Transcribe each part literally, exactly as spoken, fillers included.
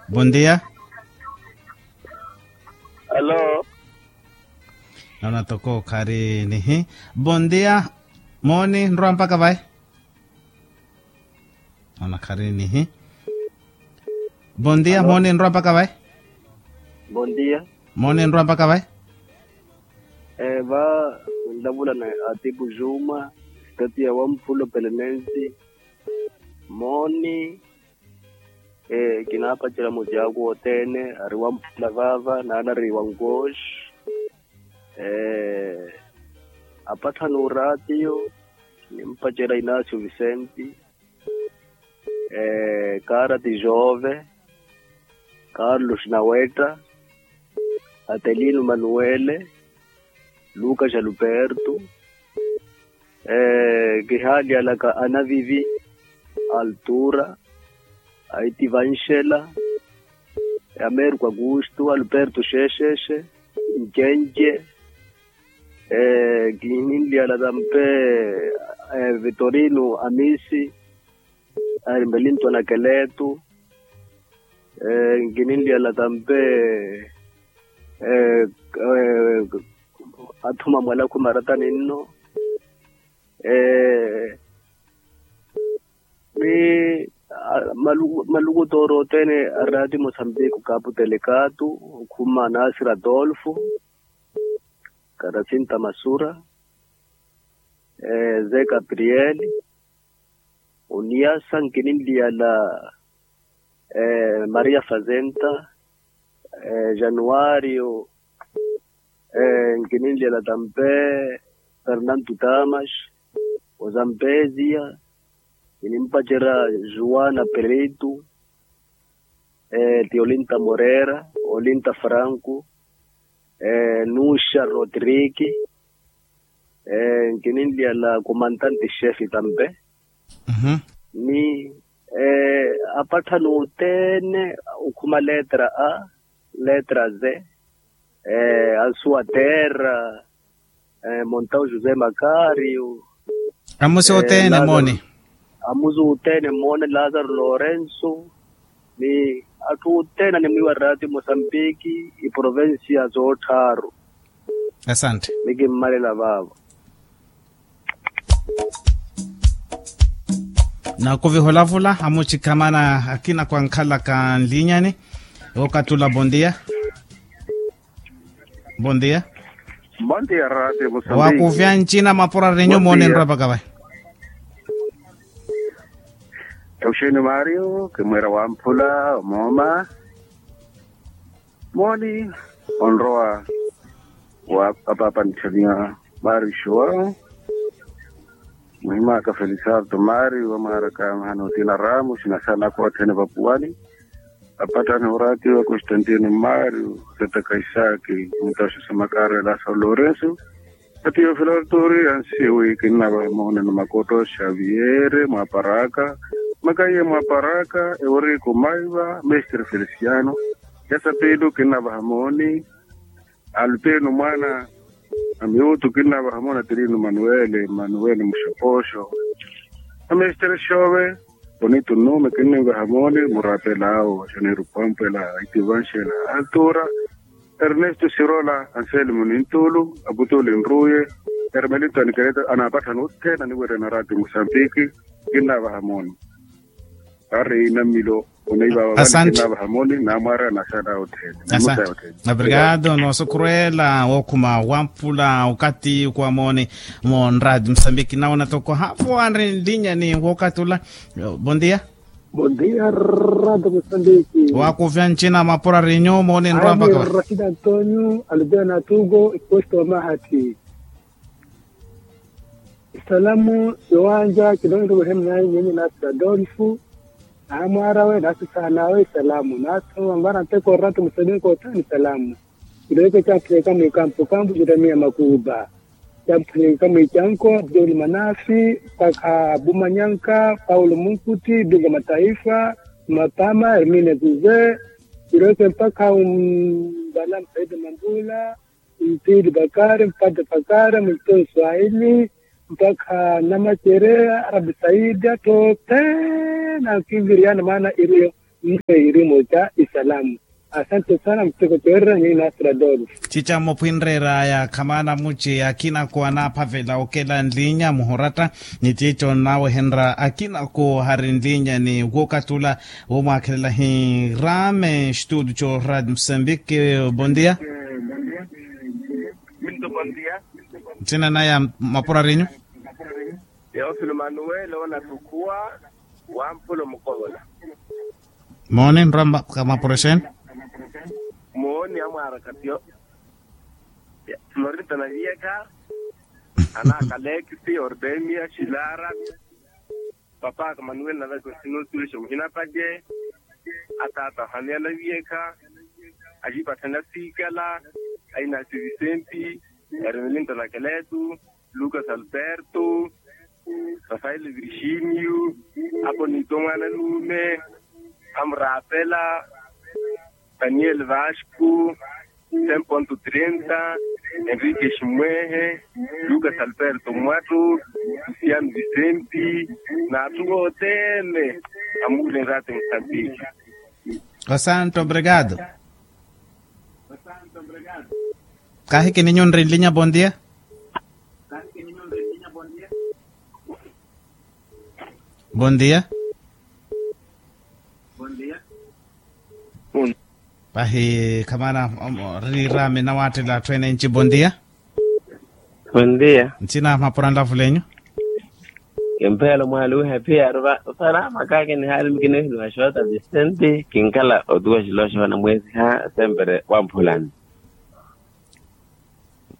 Bondia. Noona toko khari nihi. Bondia. Mooni nrowa mpaka vayi? Noona khari nihi. Bondia. Mooni nrowa mpaka vayi? Mooni nrowa mpaka vayi? Va, nlavula na atipu juma, sitati ya wamphulo pelenensi. Mooni. Kinaapacela muti aku othene ari wamphula vaava naanari wankoxi. Apatthani oraatiyo nimpacela inasio visenti, kaarati jove, karlos nawetta, atelino manuele, lukas aluperto, kihaalyalaka anavivi, altura, aiti vanxela, ameriko akustu, alperto xexexe, ncenje, kininlyala tampe, vitorino amisi, ari mbelinto anakeletu, nkininlyala tampe, athuma mwalakhu maratani nno. Ni maluku toori othene arati mosambiki okapu telekatu, okhuma nasira adolfo, karasinta masura, ze gabriel, oniyasa nkininliyala, maria fazenta, januario, nkininliyala tampe, fernanto tamas, ozampezia, kinimpacerya, juana pereitu, ti olinta morera, olinta franco, nuxa rodrigue, nkininliyala komantante xefe tampe, ni apatthani othene, okhuma letra a, letra z, ansuwa terra, montau josé macario, amusi othene mooni, amusi othene mooni lazaro lorenso, ni atthu othene animwiiwa rati mosambiki, iprovensia zoottharu. Asante. Nikimmalela vaavo. Nakuviha olavula amucikhamana akina kwankhalaka nlinyani. Okathi ula bondia. Bondia. Bondia rati musambiki. Wakuvya ncina mapura rinyu mooni nrwa pakavayi. Euxeni mario kimwira wamphula omooma. Mooni onrowa wa apapa nithaniya mario joão. Muhimaka feliciardo mario wamwaraka mahana otina ramos na sana kothene vapuwani. Apatthani oratiwa constantino mario, setaka isaki, mutaxusa makarela sa lorenso, atiyo filartori ansiwi kinnavaha moona na makoto xaviere mwaparaka, makaiye mwaparaka, eurico maiva, mestre feliciano, yasapilo kinnavaha mooni. Alpino mwana a miutu kinnavaha moona tirino manuele manuele muxopoxo, a mestre xove, bonito nome kinnivaha mooni murapelao xaneiru pampela, aitivanxela, altura, ernesto sirola, anselmo nintulu, aputuli nruye, ermelito anikereta anapatthana othene aniwerya na rati musambiki. Kinnavaha mooni. Ari namilo. Asante. Obrigado nosokhurwela wokhuma wampula okathi ukuwa mooni. Monrati musambiki nawona toko hafu anri nlinyani wookathi ula. Bondia. Bondia. Rati musambiki. Wakuvya ncina mapura rinyu mooni nrwa mpaka wa rashid antonio alubia natugo iposto wa mahati. Isalamu siwanja kilonto wehemnayi nyinyi nasi adolfu, naamwaarawe nasi saanawe isalamu nasi wangwana nteko oratu muselinko othani isalamu. Kiloyeke camphuleka mwikampu kampu jeremiya makuuba, camphuleka mwicanko abdul manafi, mpakha abumanyanka paulo munkuti bingo mataifa, mapama hermine zuze, kiloyeke mpakha umbala msaidi mambula, mpili bakari mpate bakari multon swahili, mpakha namacere arabi saidi atthu othene ankinviriyana maana iriyo. Nse irimo ca isalamu. Asante sana mteko toerra ni nasra dolu. Cica mmophwinreeraya khamaana muci akina ko anaaphavela okela nlinya muhoratta. Ni cico nnawehenrya akina ko hari nlinya ni wokatula. Womwaakhelela hi rame studio co radio mosambike. Bondia. Minto bondia. Ntsina naya mapurarinyu. Teofilo manuwele onattukhuwa. Wampula omukovola. Mooni nrwa mapurexeni. Mooni amwaara katio. Florita na viyekha. Ana kalekisi ordemia xilara. Papaka manuel na vekosinosulexa muhina pake. Atata hania na viyekha. Axipathana sikala. Ainasi visenti. Ermelinta na keletu. Lucas alberto. Rafael virginio. Aponito mwana nume. Amurapela. Daniel vasco. Cem ponto trenta. Enrique ximwehe. Lucas alberto mwatto. Luciano vicenti. Nathu otene. Amule nrate musambiki. Osanto obrigado. Kaahiki ninyu nri nlinya bondia. Bondia. Pahi khamana. Rirami nawatela athu ene nci bondia. Bondia. Ntsina mapura nlavulenyu. Kimphelo mwaluhe piya ruva. Usana makake ni hali mukinihiluha xota visenti kinkala otuwa xiloxo na mwesi ha sempere wamphulani.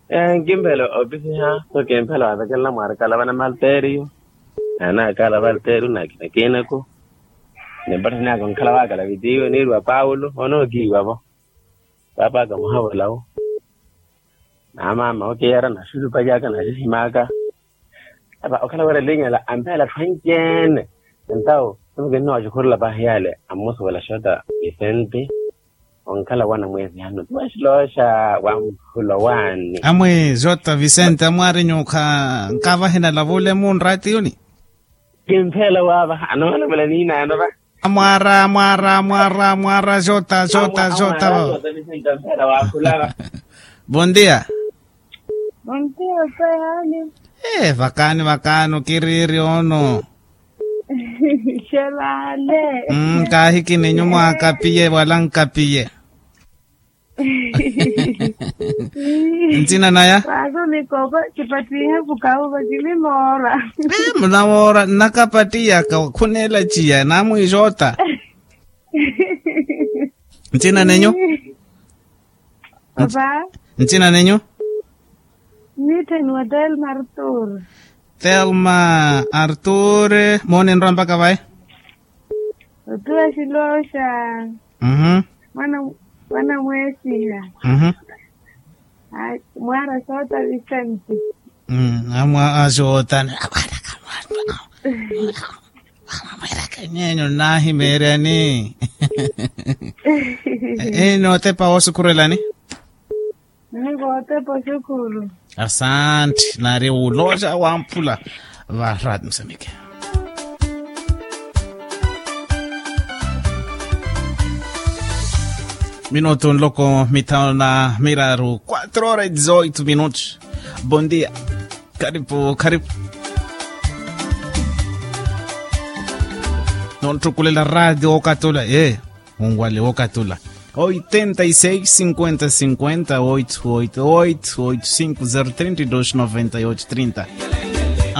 Ee nkimphelo opisiha so kimphelo wavekelela mwarikala vana malteriyo. Naanakala valteriyo nakinakinaku. Nimpattani aka onkhala wakala vitiyo niiriwa paulo onookiiwa vo. Paapaka muhavola wo. Naamaama okiyara naxulupacaka naxihimaka. Ava okhala wira linyala amphela atthu anci-ene. Entawo simukinnowa oxikhurula pahi yale ammusuwela xota visenti. Onkhala wana mwesihano tiwaxilooxa wamphula owaani. Amwe xota visenti amwaari nyuukha nkavahe nalavule munraatiyuni. Kimphela waavaha anoolavala niinaano va. Mwaara mwaara mwaara mwaara xota xota xota. Bondia. Bondia. Vakaani vakaani okiriiri ono. Xelaale. Kaahiki ninyu mwaakapiye wala nkapiye. Ntsina naya. Vaaso mikoko kipattihe vukauva kini moora. Munamoora nnakapatiyaka khunelaciya namwiixotta. Ntsina nenyu. Ntsina nenyu. Nitheni wa telma artur. Telma artur. Mooni nrwa mpaka vayi. Otuwa xiloxa. Mwana mweesiha. Mwaara soota visenti. Amwa asoota. Mweeraka nyenyu. Ino otepa woosukhurelani. Niko otepa osukhuru. Asanti nari wuloxa wamphula. Varati musamike. Minutu nloko mithanu na miraru quatro horas e dezoito minutos. Bondia. Karipu karipu. Nonttukulela radio wokatula ee. Wunwale wokatula. Oitenta e seis cinquenta cinquenta oito oito oito oito cinco zero trinta e dois noventa e oito trinta.